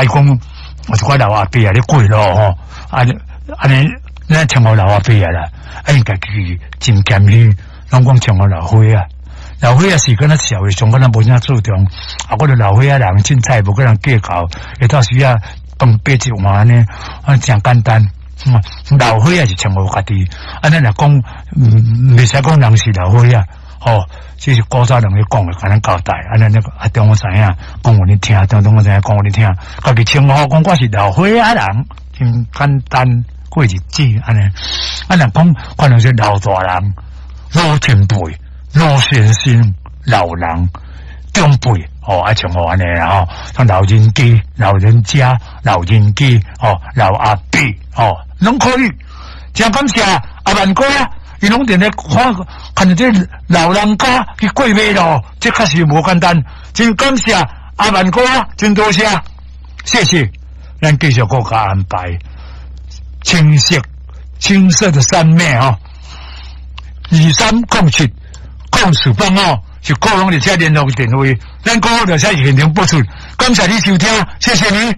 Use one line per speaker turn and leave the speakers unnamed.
伊講有一寡老阿伯啊咧過路吼，按按呢，咱稱呼老阿伯啊啦，啊𪜶家己真謙虛，攏講稱呼老歲仔。老歲仔是敢若社會上敢若無啥注重，啊，我著老歲仔人凊彩無佮人計較，會到時啊飯掰一碗按呢，啊誠簡單。老歲仔是稱呼家己，啊，咱若講袂使講人是老歲仔，吼，這是古早人咧講的，共咱交代，按呢啊中我知影，講予你聽，中我知影講予你聽，家己稱呼講我是老歲仔人，真簡單過日子按呢。啊，若講可能是老大人、老前輩、老先生、老人、長輩，吼，啊稱呼按呢啦吼，像老人家、老人家、老人家，吼，老阿伯，吼，攏可以。誠感謝阿萬哥啊，伊攏佇咧看，看著這老人家去過馬路，這確實無簡單。真感謝阿萬哥啊，真多謝，謝謝。咱繼續閣共安排青色、青色的三昧吼，23070485是個人佇遮聯絡電話，咱閣佇遮現場播出。感謝你收聽，謝謝你。